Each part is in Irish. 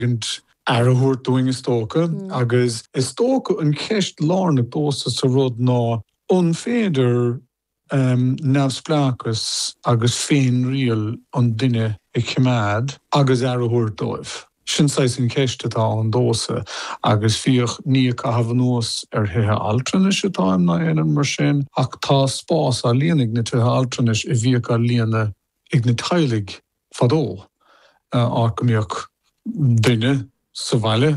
ligeant aire a thabhairt dúinn is dócha agus is dócha an cheist lárnach domhsa sa rud ná an féidir neamhspleáchas agus féinriail an duine a choimeád agus aire a thabhairt dóibh? Sin saghas an cheist atá ann domhsa agus féach ní ag caitheamh anuas ar thithe altranais atáim ná aon rud mar sin ach tá spás á líonadh ag na tithe altranais a bhíodh á líonadh ag na teaghlaigh fadó, áit go mbíodh duine sa bhaile,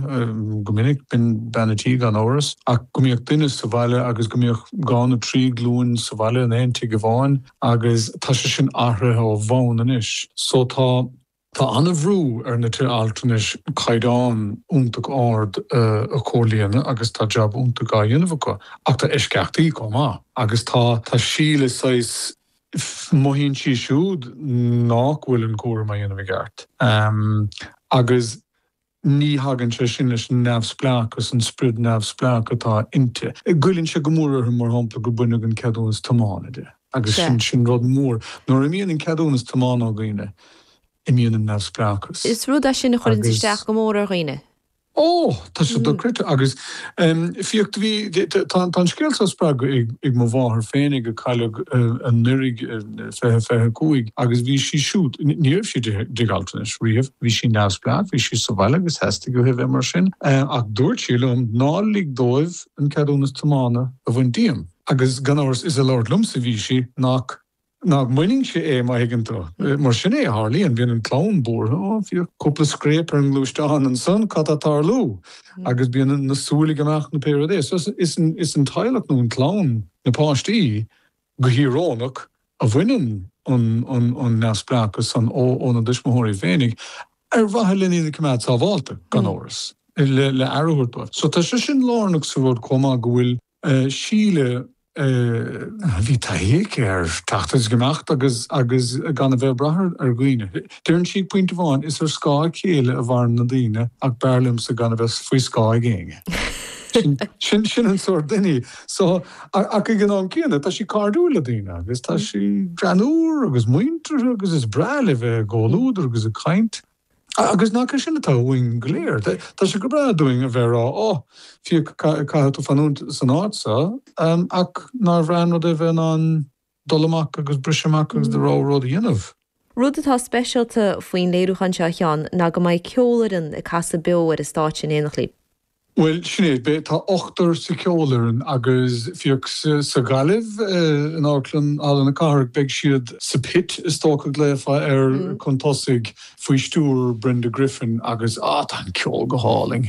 go minic, b'in bean a' tí gan amhras, ach go mbíodh duine sa bhaile agus go mbíodh 2 nó 3 glúin sa bhaile in aon tigh amháin agus tá sé sin athraithe ó bhonn anois. So tá. Tá an-bhrú ar na tithe altranais caighdeán iontach ard a chomhlíonadh agus tá jab iontach á dhéanamh acu ach tá eisceachtaí chomh maith agus tá tá Síle saghas mothaíonn sí siúd nach bhfuil an cúram á dhéanamh i gceart agus ní thagann sé sin leis an neamhspleáchas, an spiorad neamhspleách atá inti. Goilleann sé go mór uirthi, mar shampla, gur baineadh an ceadúnas tiomána di agus sin, sin rud mór. Nuair a imíonn an ceadúnas tiomána ó dhaoine, imíonn an neamhspleáchas. Is rud é sin a chuireanns isteach go mór ar dhaoine. Ó! Tá sé dochreidte agus féach, do bhí, tá an scéal seo spreagtha ag mo mháthair féinig a cailleadh anuraidh, 2025, agus bhí sí siúd, ní raibh sí i dtigh altranais riamh, bhí sí neamhspleách, bhí sí sa bhaile agus theastaigh uaithi a bheith mar sin, ach dúirt sí liom, ná lig dóibh an ceadúnas tiomána a bhaint díom. Agus gan amhras, is ag labhairt liomsa a bhí sí, nach. nach mbainfinnse é, má thuigeann tú. Mar sin é a tharlaíonn, bíonn an clann buartha, ó, féach, cúpla scréip ar an ngluaisteán ansan, cad tá ag tarlú? Agus bíonn na súile ag imeacht nó pé rud é. So is an teaghlach nó an clann, na páistí, go híorónach, a bhaineann an neamhspleáchas san óna dtuismitheoirí féinig, ar mhaithe lena iad a choimeád sábhálta, gan amhras, le aire a thabhairt dóibh. So tá sé sin lárnach sa rud chomh maith, go bhfuil Síle, bhí taithí aici ar teacht agus imeacht agus agus gan a bheith ag brath ar dhaoine. Deireann sí ag pointe amháin, is ar scáth a chéile a mhaireann na daoine ach b'fhearr liomsa gan a bheith faoi scáth ag éinne. Sin sin an sórt duine í. So, ach ag an am céanna, tá sí cairdiúil le daoine agus tá sí greannmhar agus muinteartha agus is breá léi bheith i gcomhluadar agus ag caint. Agus nach é sin atá uainn go léir? Tá sé go breá dúinn a bheith ag rá, 'Ó, féach, caithfidh tú fanúint san áit seo', ach nár bhreá an rud é a bheith in ann dul amach agus briseadh amach agus do rogha rud a dhéanamh? Rud atá speisialta faoin léiriúchán seo, a Sheáin, ná go mbeidh ceolfhoireann ag casadh beo ar an stáitse in éineacht libh. Bhuel, sin é. Beidh, tá ochtar sa cheolfhoireann agus féach, sa Ghaillimh, in Amharclann Halla na Cathrach, beidh siad sa pit, is dócha, glaofá air, chun tosaigh, faoi stiúir Brenda Griffin agus, ah, tá an ceol go hálainn.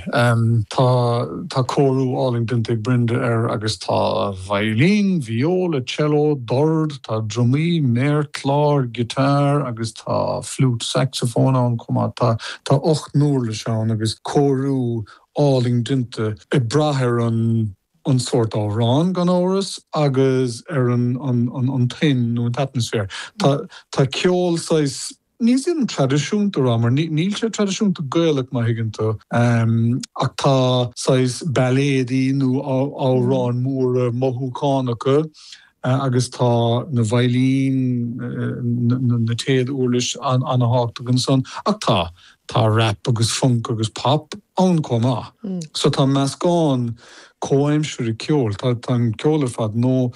Tá, tá cóiriú álainn déanta ag Brenda air agus tá veidhlín, viola, cello, dord, tá drumaí, méarchlár, guitar agus tá fliúit saxophone ann chomh maith. Tá, tá 8 n-uirlis ann agus cóiriú álainn déanta ag brath ar an an sórt amhrán, gan amhras, agus ar an an an tuin nó an t-atmaisféar. Tá tá ceol saghas, ní dhéanfainn traidisiúnta a rá mar níl sé traidisiúnta Gaelach má thuigeann tú, ach tá saghas bailéadaí nó amhráin mhóra mothúchánacha agus tá na veidhlín, na téad-uirlis an-thábhachtach ansan ach tá, tá rap agus funk agus pop ann chomh maith. So tá meascán comhaimseartha ceoil, tá an ceol ar fad nua,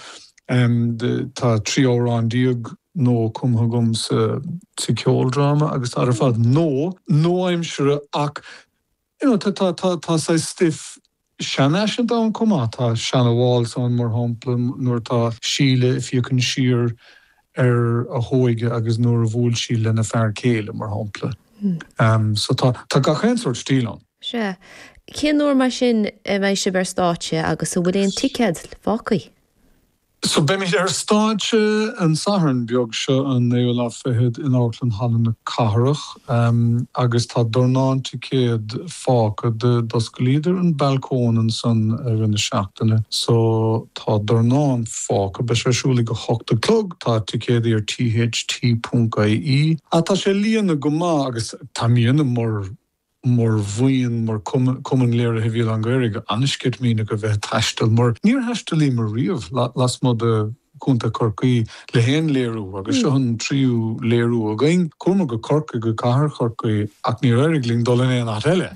tá 13 amhrán nua cumtha agam sa cheoldráma agus tá ar fad nua, nua-aimseartha ach You know, tá, tá, tá, tá saghas stuif seanfhaiseanta ann chomh maith. Tá seana-waltz ann, mar shampla, nuair atá Síle ag féachaint siar ar a hóige agus nuair a bhuail sí lena fear céile, mar shampla. So tá, tá gach aon sórt stíl ann. Sea. Cén uair mar sin a mbeidh sibh ar stáitse agus an bhfuil aon ticéad fágtha? So beimid ar stáitse an Satharn beag seo, an naoú lá fichead, in Amharclann Halla na Cathrach agus tá dornán ticéad fágtha. D'osclaíodar an balcóin ansan i rith na seachtaine so tá dornán fágtha. Beidh sé ar siúl ag a hocht a chlog. Tá ticéadaí ar tht.ie. Tá sé ag líonadh go maith agus táimidne mar mar bhuíon, mar Cumann Léirithe Bhéal Átha an Ghaorthaidh, an-sceitimíneach a bheith ag taisteal, mar níor thaistealaíomar riamh lasmuigh de. Contae Chorcaí le haon léiriú agus seo an tríú léiriú againn. Chuamar go Corcaigh, go cathair Chorcaí ach níor éirigh linn dul in aon áit eile.